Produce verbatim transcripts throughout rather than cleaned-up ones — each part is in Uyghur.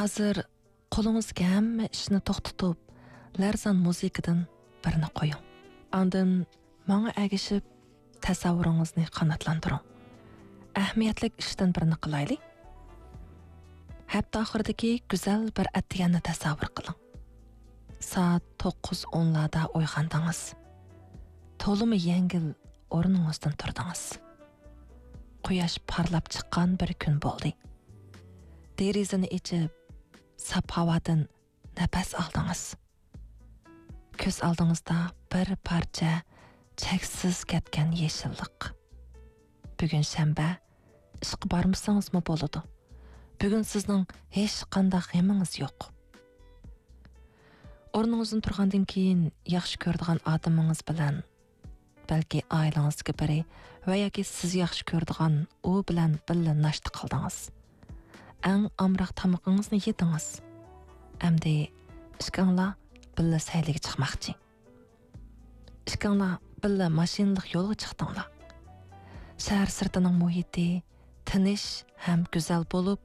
ھازىر قولىڭىزدىكى ھەممە ئىشنى توختىتىپ، لەرزان مۇزىكىدىن بىرنى قويۇڭ. ئاندىن ماڭا ئەگىشىپ، تەسەۋۋۇرىڭىزنى قاناتلاندۇرۇڭ. ئەھمىيەتلىك ئىشتىن بىرنى قىلايلى. ھەپتە ئاخىرىدىكى گۈزەل بىر ئەتىگەننى تەسەۋۋۇر قىلىڭ. سائەت توققۇز ئونلاردا ئويغاندىڭىز. تولىمۇ يەڭگىل ئورنىڭىزدىن تۇردىڭىز. قۇياش پارلاپ چىققان بىر كۈن بولدى. دېرىزىنى ئېچىپ، ساپ ھاۋادىن نەپەس ئالدىڭىز. كۆز ئالدىڭىزدا بىر پارچە چەكسىز كەتكەن يېشىللىق. بۈگۈن شەنبە، ئىشقا بارمىسىڭىزمۇ بولىدۇ. بۈگۈن سىزنىڭ ھېچقانداق غېمىڭىز يوق. ئورنىڭىزدىن تۇرغاندىن كېيىن، ياخشى كۆرىدىغان ئادىمىڭىز بىلەن، بەلكى ئائىلىڭىزدىكى بىرى ۋە ياكى سىز ياخشى كۆرىدىغان ئۇ بىلەن بىللە ناشتا قىلدىڭىز. ئەڭ ئامراق تامىقىڭىزنى يېدىڭىز. ئەمدى ئىككىڭلار بىللە سەيلىگە چىقماقچى. ئىككىڭلار بىللە ماشىنىلىق يولغا چىقتىڭلار. شەھەر سىرتىنىڭ مۇھىتى تىنچ ھەم گۈزەل بولۇپ،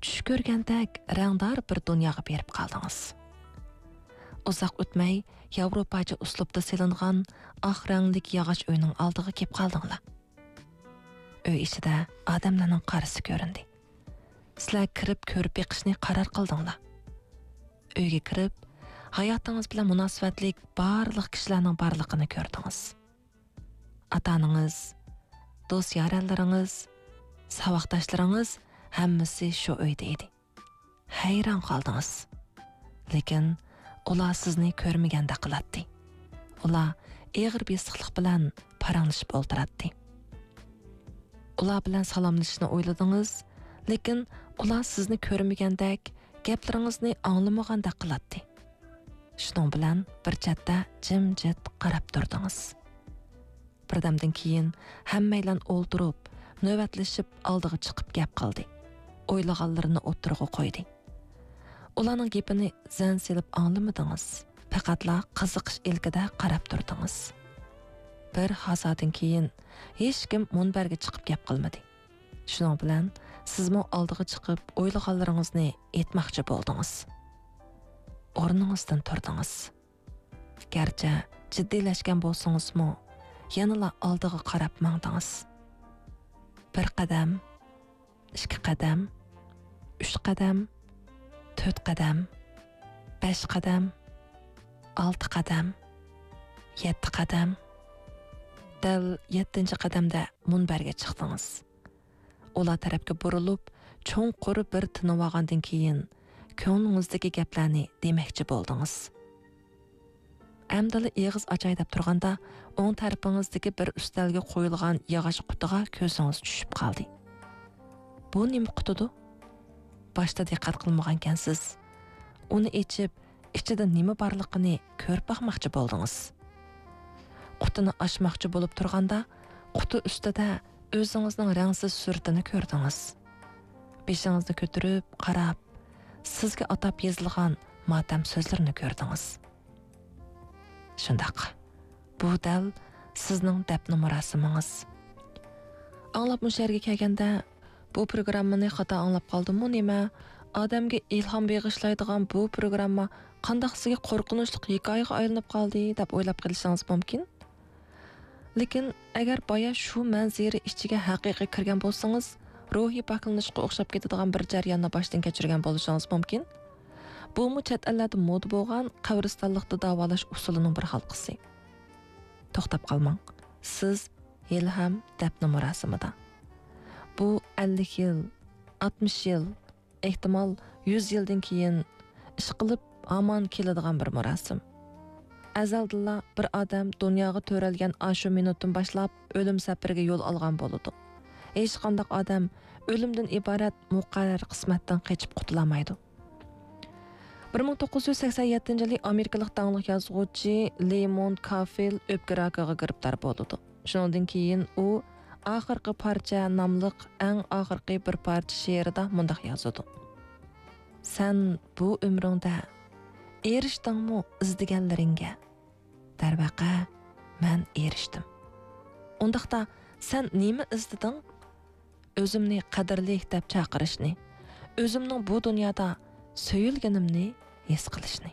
چۈش كۆرگەندەك رەڭدار بىر دۇنياغا بېرىپ قالدىڭىز. ئۇزاق ئۆتمەي، ياۋروپاچە ئۇسلۇبتا سېلىنغان ئاق رەڭلىك ياغاچ ئۆينىڭ ئالدىغا كېلىپ قالدىڭلار. ئۆي ئىچىدە ئادەملەرنىڭ قارىسى كۆرۈندى. سىلەر كىرىپ كۆرۈپ بېقىشنى قارار قىلدىڭلار. ئۆيگە كىرىپ، ھاياتىڭىز بىلەن مۇناسىۋەتلىك بارلىق كىشىلەرنىڭ بارلىقىنى كۆردىڭىز. ئاتا-ئانىڭىز، دوست-يارەنلىرىڭىز، ساۋاقداشلىرىڭىز ھەممىسى شۇ ئۆيدە ئىدى. ھەيران قالدىڭىز. لېكىن ئۇلار سىزنى كۆرمىگەندەك قىلاتتى. ئۇلار ئېغىر بېسىقلىق بىلەن پاراڭلىشىپ ئولتۇراتتى. ئۇلار بىلەن سالاملىشىشنى ئويلىدىڭىز، لېكىن ئۇلار سىزنى كۆرمىگەندەك، گەپلىرىڭىزنى ئاڭلىمىغاندەك قىلاتتى. شۇنىڭ بىلەن بىر چەتتە جىمجىت قاراپ تۇردىڭىز. بىردەمدىن كېيىن ھەممەيلەن ئولتۇرۇپ، نۆۋەتلىشىپ ئالدىغا چىقىپ گەپ قىلدى. ئويلىغانلىرىنى ئوتتۇرىغا قويدى. ئۇلارنىڭ گېپىنى زەن سېلىپ ئاڭلىمىدىڭىز. پەقەتلا قىزىقىش ئىلكىدە قاراپ تۇردىڭىز. بىر ھازادىن كېيىن ھېچكىم مۇنبەرگە چىقىپ گەپ قىلمىدى. شۇنىڭ بىلەن سىزمۇ ئالدىغا چىقىپ ئويلىغانلىرىڭىزنى ئېيتماقچى بولدىڭىز. ئورنىڭىزدىن تۇردىڭىز. گەرچە جىددىيلەشكەن بولسىڭىزمۇ، يەنىلا ئالدىغا قاراپ ماڭدىڭىز. بىر قەدەم، ئىككى قەدەم، ئۈچ قەدەم، تۆت قەدەم، بەش قەدەم، ئالتە قەدەم، يەتتە قەدەم. دەل يەتتىنچى قەدەمدە مۇنبەرگە چىقتىڭىز. ئۇلار تەرەپكە بۇرۇلۇپ، چوڭقۇر بىر تىنىۋالغاندىن كېيىن، كۆڭلىڭىزدىكى گەپلەرنى دېمەكچى بولدىڭىز. ئەمدىلا ئېغىز ئاچاي دەپ تۇرغاندا، ئوڭ تەرىپىڭىزدىكى بىر ئۈستەلگە قويۇلغان ياغاچ قۇتىغا كۆزىڭىز چۈشۈپ قالدى. بۇ نېمە قۇتىدۇ؟ باشتا دىققەت قىلمىغانكەنسىز. ئۇنى ئېچىپ، ئىچىدە نېمە بارلىقىنى كۆرۈپ باقماقچى بولدىڭىز. قۇتىنى ئاچماقچى بولۇپ تۇرغاندا، قۇتى ئۈستىدە ئۆزىڭىزنىڭ رەڭسىز سۈرىتىنى كۆردىڭىز. بېشىڭىزنى كۆتۈرۈپ قاراپ، سىزگە ئاتاپ يېزىلغان ماتەم سۆزلىرىنى كۆردىڭىز. شۇنداق، بۇ دەل سىزنىڭ دەپنە مۇراسىمىڭىز. ئاڭلاپ مۇشۇ يەرگە كەلگەندە، بۇ پروگراممىنى خاتا ئاڭلاپ قالدىممۇ نېمە؟ ئادەمگە ئىلھام بېغىشلايدىغان بۇ پروگرامما قانداق سىزگە قورقۇنچلۇق ھېكايىغا ئايلىنىپ قالدى، دەپ ئويلاپ قېلىشىڭىز مۇمكىن. لېكىن ئەگەر بايا شۇ مەنزىرە ئىچىگە ھەقىقىي كىرگەن بولسىڭىز، روھىي پاكلىنىشقا ئوخشاپ كېتىدىغان بىر جەرياننى باشتىن كەچۈرگەن بولۇشىڭىز مۇمكىن. بۇمۇ چەت ئەللەردە مودا بولغان قەبرىستانلىقتا داۋالاش ئۇسۇلىنىڭ بىر ھالقىسى. توختاپ قالماڭ. سىز ھېلىھەم دەپنە مۇراسىمىدا. بۇ ئەللىك يىل، ئاتمىش يىل، ئېھتىمال، يۈز يىلدىن كېيىن ئىشقىلىپ ھامان كېلىدىغان بىر مۇراسىم. ئەزەلدىنلا بىر ئادەم دۇنياغا تۆرەلگەن ئاشۇ مىنۇتتىن باشلاپ ئۆلۈم سەپىرىگە يول ئالغان بولىدۇ. ھېچقانداق ئادەم ئۆلۈمدىن ئىبارەت مۇقەررەر قىسمەتتىن قېچىپ قۇتۇلالمايدۇ. بىر مىڭ توققۇز يۈز سەكسەن يەتتىنچى يىلى ئامېرىكىلىق داڭلىق يازغۇچى لېيموند كافىل ئۆپكە راكىغا گىرىپتار بولىدۇ. شۇنىڭدىن كېيىن ئۇ ئاخىرقى پارچە ناملىق ئەڭ ئاخىرقى بىر پارچە شېئىرىدا مۇنداق يازىدۇ: «سەن بۇ ئۆمرۈڭدە ئېرىشتىڭمۇ ئىزدىگەنلىرىڭگە؟ دەرۋەقە، مەن ئېرىشتىم. ئۇنداقتا سەن نېمە ئىزدىدىڭ؟ ئۆزۈمنى قەدىرلىك دەپ چاقىرىشنى، ئۆزۈمنىڭ بۇ دۇنيادا سۆيۈلگىنىمنى ھېس قىلىشنى.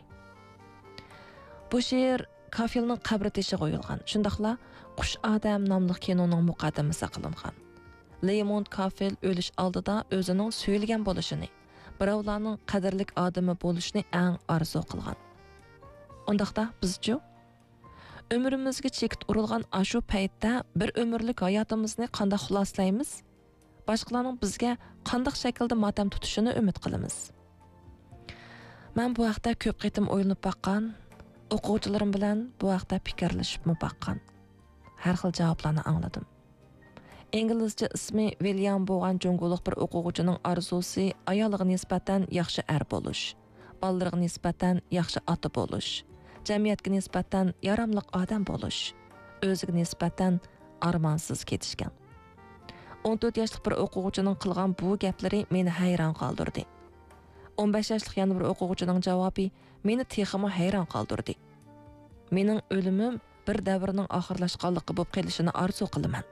بۇ شېئىر كافىلنىڭ قەبرە تېشىغا ئويۇلغان، شۇنداقلا قۇش ئادەم ناملىق كىنونىڭ مۇقەددىمىسىگە قىلىنغان. رەيموند كافىل ئۆلۈش ئالدىدا ئۆزىنىڭ سۆيۈلگەن بولۇشىنى، بىراۋلارنىڭ قەدىرلىك ئادىمى بولۇشىنى ئەڭ ئارزۇ قىلغان. ئۇنداقتا بىزچۇ؟ ئۆمرىمىزگە چېكىت ئۇرۇلغان ئاشۇ پەيتتە بىر ئۆمۈرلۈك ھاياتىمىزنى قانداق خۇلاسىلايمىز؟ باشقىلارنىڭ بىزگە قانداق شەكىلدە ماتەم تۇتۇشىنى ئۈمىد قىلىمىز؟ مەن بۇ ھەقتە كۆپ قېتىم ئويلىنىپ باققان، ئوقۇغۇچىلىرىم بىلەن بۇ ھەقتە پىكىرلىشىپمۇ باققان. ھەر خىل جاۋابلارنى ئاڭلىدىم. ئىنگلىزچە ئىسمى ۋىليام بولغان جۇڭگولۇق بىر ئوقۇغۇچىنىڭ ئارزۇسى ئايالىغا نىسبەتەن ياخشى ئەر بولۇش، بالىلىرىغا نىسبەتەن ياخشى ئاتا بولۇش، جەمئىيەتكە نىسبەتەن ياراملىق ئادەم بولۇش، ئۆزىگە نىسبەتەن ئارمانسىز كېتىشكەن. ئون تۆت ياشلىق بىر ئوقۇغۇچىنىڭ قىلغان بۇ گەپلىرى مېنى ھەيران قالدۇردى. ئون بەش ياشلىق يەنە بىر ئوقۇغۇچىنىڭ جاۋابى مېنى تېخىمۇ ھەيران قالدۇردى. مېنىڭ ئۆلۈمۈم بىر دەۋرنىڭ ئاخىرلاشقانلىقى بولۇپ قېلىشىنى ئارزۇ قىلىمەن.